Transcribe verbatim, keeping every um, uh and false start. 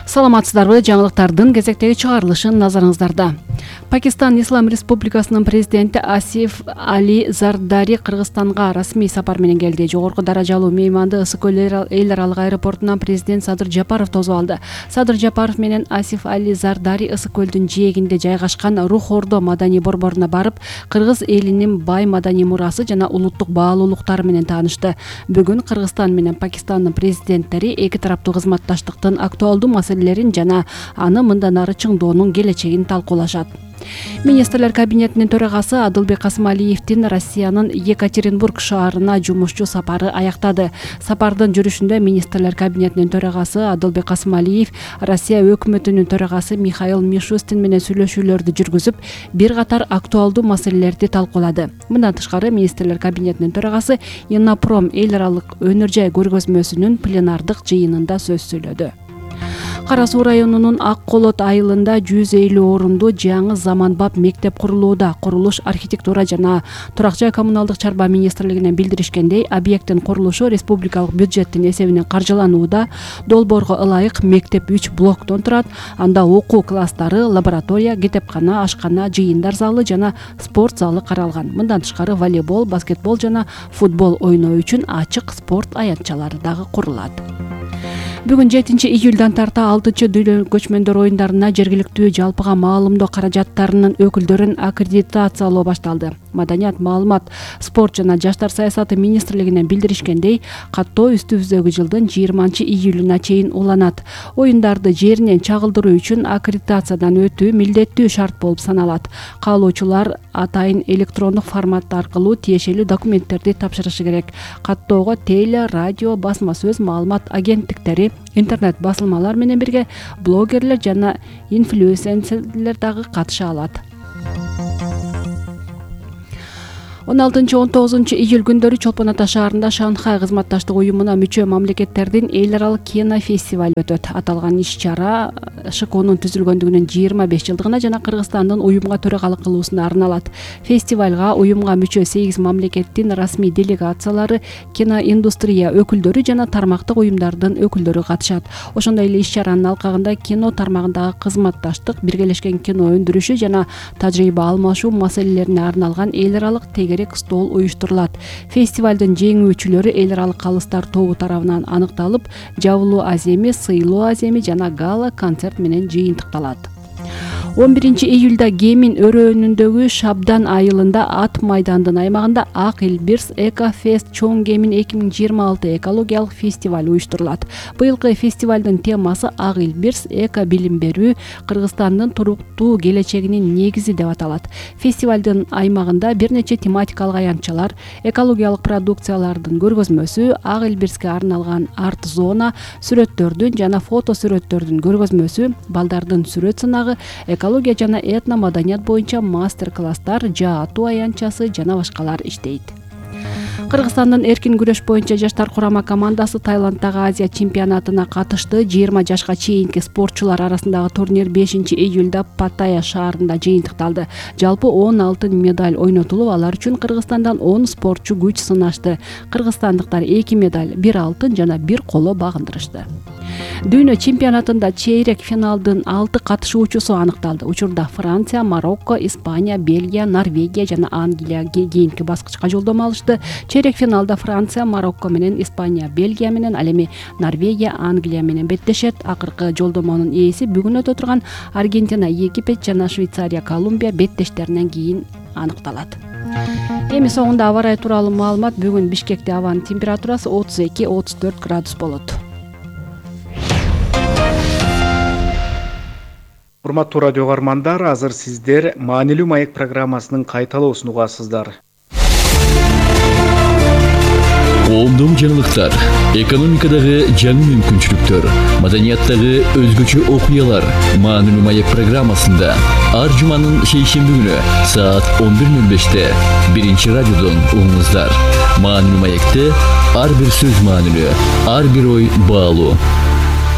Саламатсыздарбы? Жаңылыктардын кезектеги чыгарылышын назарыңыздарда. Пакистан Ислам Республикасынын президенти Асиф Али Зардари Кыргызстанга расмий сапар менен келди. Жогорку даражалуу мейманды Ысык көл эл аралык аэропортунан президент Садыр Жапаров тосуп алды. Садыр Жапаров менен Асиф Али Зардари Ысык көлдүн жээгинде жайгашкан Рух Ордо маданий борборуна барып, кыргыз элинин бай маданий мурасы жана улуттук баалуулуктары менен таанышты. Бүгүн Кыргызстан менен Пакистандын президенттери эки тараптуу кызматташтыктын актуалдуу маселелерин жана аны мындан ары чыңдоонун келечегин талкуулашат. Министрлер кабинетинин төрагасы Адылбек Касымалиевдин Россиянын Екатеринбург шаарына жумушчу сапары аяктады. Сапардын жүрүшүндө министрлер кабинетинин төрагасы Адылбек Касымалиев Россия өкмөтүнүн төрагасы Михаил Мишустин менен сүйлөшүүлөрдү жүргүзүп, бир катар актуалдуу маселелерди талкуулады. Мындан тышкары министрлер кабинетинин төрагасы Иннопром эл аралык өнөр жай көргөзмөсүнүн пленардык жыйынында сөз сөйлөдү. Кара Суу районунун Ак Колот айылында жүз элүү орундуу жаңы заманбап мектеп курулууда. Курулуш архитектура жана турак жай коммуналдык чарба министрлигинен билдиришкендей, объекттин курулушу республикалык бюджеттин эсебинен каржыланууда. Долбоорго ылайык мектеп үч блоктон турат. Анда окуу класстары, лаборатория, китепкана, ашкана, жыйындар залы жана спорт залы каралган. Мындан тышкары волейбол, баскетбол жана футбол ойноо үчүн ачык спорт аянтчалары дагы курулат. Бүгүн жетинчи июлдан тарта алтынчы дүйнө көчмөндөр оюндарына жергиликтүү жалпыга маалымдоо каражаттарынын өкүлдөрүн аккредитациялоо башталды. Маданият, маалымат, спорт жана жаштар саясаты министрлигинен билдиришкендей, каттоо үстүбүздөгү жылдын жыйырманчы июлуна чейин уланат. Оюндарды жеринен чагылдыруу үчүн аккредитациядан өтүү милдеттүү шарт болуп саналат. Каалоочулар атайын электрондук формат аркылуу тиешелүү документтерди тапшырышы керек. Каттоого теле, радио, басма сөз, маалымат агенттиктери, интернет басылмалар менен бирге блогерлер жана инфлюенсерлер дагы катыша алат. он алтынчы он тогузунчу июль күндөрү Чолпон Ата шаарында Шанхай кызматташтык уюмуна мүчө мамлекеттердин эл аралык кинофестивали өтөт. Аталган иш-чара ШКОнун түзүлгөндүгүнүн жыйырма беш жылдыгына жана Кыргызстандын уюмга төрагалык кылуусуна арналат. Фестивалга уюмга мүчө сегиз мамлекеттин расмий делегациялары, киноиндустрия өкүлдөрү жана тармактык уюмдардын өкүлдөрү катышат. Ошондой эле иш-чаранын алкагында кино тармагындагы кызматташтык, биргелешкен кино өндүрүшү жана тажрыйба алмашуу маселелерине арналган эл аралык тегерек стол уюштурулат. Фестивалдын жеңүүчүлөрү эл аралык калыстар тобу тарабынан аныкталып, жабылуу аземи, сыйлоо аземи жана гала концерт менен жыйынтыкталат. он биринчи июлда Гемин өрөөнүндөгү Шабдан айылында ат майдандын аймагында Ак Элбирс Экофест Чоң Гемин эки миң жыйырма алты экологиялык фестиваль уюштурулат. Быйылкы фестивалдын темасы Ак Элбирс эко билим берүү Кыргызстандын туруктуу келечегинин негизи деп аталат. Фестивалдын аймагында бир нече тематикалык аянтчалар, экологиялык продукциялардын көргөзмөсү, Ак Элбирске арналган арт зона, сүрөттөрдүн жана фото сүрөттөрдүн көргөзмөсү, балдардын сүрөт сынагы, экология жана этно маданият боюнча мастер-класстар, жаа атуу аянтчасы жана башкалар иштейт. Кыргызстандын эркин күрөш боюнча жаштар курама командасы Таиланддагы Азия чемпионатына катышты. жыйырма жашка чейинки спортчулар арасындагы турнир бешинчи июлда Паттайя шаарында жыйынтыкталды. Жалпы он алтын медаль ойнотулуп, алар үчүн Кыргызстандан он спортчу күч сынашты. Кыргызстандыктар эки медаль, бир алтын жана бир коло багындырышты. Дүйнө чемпионатында чейрек финалдын алты катышуучусу аныкталды. Учурда Франция, Марокко, Испания, Бельгия, Норвегия жана Англия кийинки баскычка жолдомо алышты. Чейрек финалда Франция, Марокко менен Испания, Бельгия менен, ал эми Норвегия, Англия менен беттешет. Акыркы жолдомонун ээси бүгүн өтө турган Аргентина, Египет жана Швейцария, Колумбия беттештеринен кийин аныкталат. Эми соңунда аба ырайы тууралуу маалымат. Бүгүн Бишкекте абанын температурасы отуз эки отуз төрт градус болот. Урматтуу радио каармандар, азыр сиздер маанилүү маек программасынын кайталоосун угасыздар. Коомдук жаңылыктар, экономикадагы жаңы мүмкүнчүлүктөр, маданияттагы өзгөчө окуялар маанилүү маек программасында ар жуманын шейшемби күнү саат он бир ноль беште биринчи радиодон угуңуздар. Маанилүү маекте ар бир сөз маанилүү, ар бир ой баалуу.